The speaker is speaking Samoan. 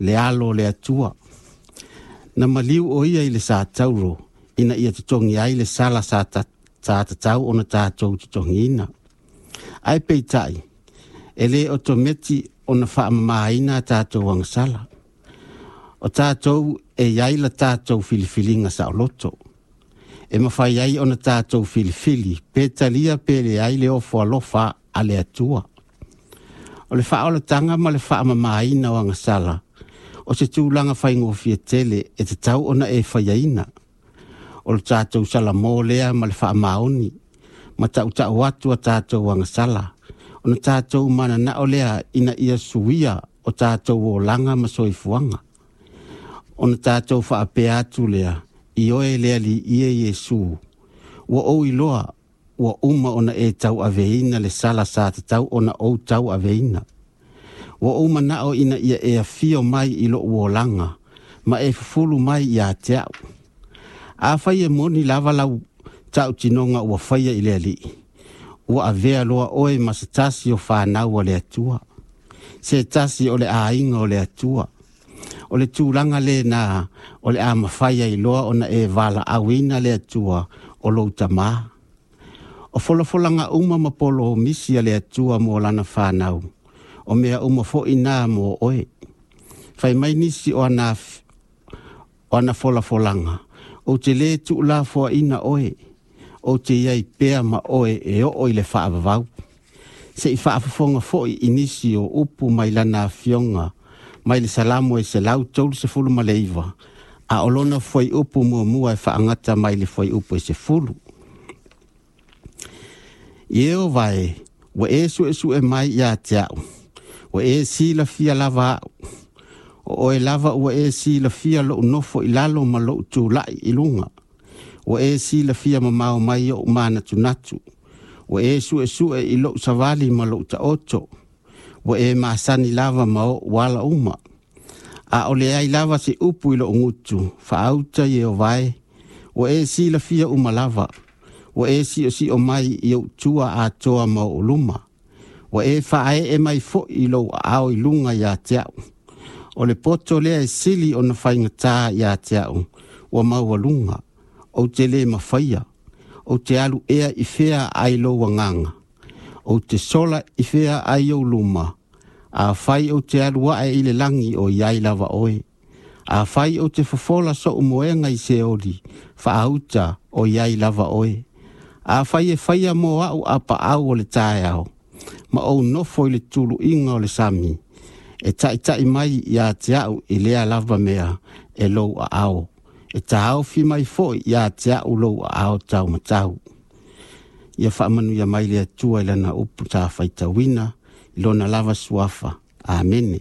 le Alo o le Atua. Na maliu o ia i le satauro ina ia totogi ai le sala sa tatau ona tatou totogiina. Ae peitai, e le otometi ona faamamaina a tatou agasala. O tatou e iai la tatou filifiliga saoloto. E mafai ai ona tatou filifili pe talia pe leai le ofo alofa a le Atua. O le faaolataga ma le faamamaina o agasala, o se tulaga faigofie tele e tatau ona e faiaina. O le tatou salamo lea ma le faamaoni, ma tautau atu a tatou agasala, ona tatou mananao lea ina ia suia o tatou olaga ma soifuaga. Ona tatou faapea atu lea, ioe le Alii e Iesu, ua ou iloa ua uma ona e tauaveina le sala sa tatau ona ou tauaveina. Ua ou manao ina ia e afio mai i lou olaga, ma e fufulu mai ia te au. Afai e moni lava lau tautinoga ua faia i le Alii, ua avea loa oe ma se tasi o fanau a le Atua, se tasi o le aiga o le Atua. O le tulaga lena o le a mafai ai loa ona e valaauina le Atua o lou tamā. O folafolaga uma ma polomisi a le Atua mo lana fanau, o mea uma foi nā mo oe. Fai mai nisi o ana folafolaga, ou te lē tuulafoaina oe, ou te iai pea ma oe e oo i le faavavau. Se i faafofoga foi i nisi o upu mai lana afioga, mai le Salamo e 139, a o lona fuaiupu muamua e faagata mai le fuaiupu e 10. Ieova e, ua e suesue mai ia te au, ua e silafia lava au. O oe lava ua e silafia lou nofo i lalo ma lou tulai i luga. Ua e silafia mamao mai ou manatunatu. Ua e suesue i lou savali ma lou taoto. Ua e masani lava ma ou ala uma. A o le ai lava se upu i lou gutu, faauta Ieova e, ua e silafia uma lava. Ua e siosio mai i ou tua atoa ma ou luma. Ua e faaee mai foi i lou aao i luga ia te au. O le poto lea e sili ona faigata ia te au, ua maualuga, ou te lē mafaia, ou te alu ea i fea ai lou agaga, ou te sola i fea ai ou luma, afai ou te alu ae i le lagi o iai lava oe, afai ou te fofola sou moega i Seoli, faauta o iai lava oe, afai e faia mo au apaau o le taeao, ma ou nofo i le tuluiga o le sami, e taitai mai ia te au i lea lava mea e lou aao, e taofi mai foi ia te au lou aao taumatau. Ia faamanuia mai le Atua i lana upu sa faitauina, i lona lava suafa. Amene.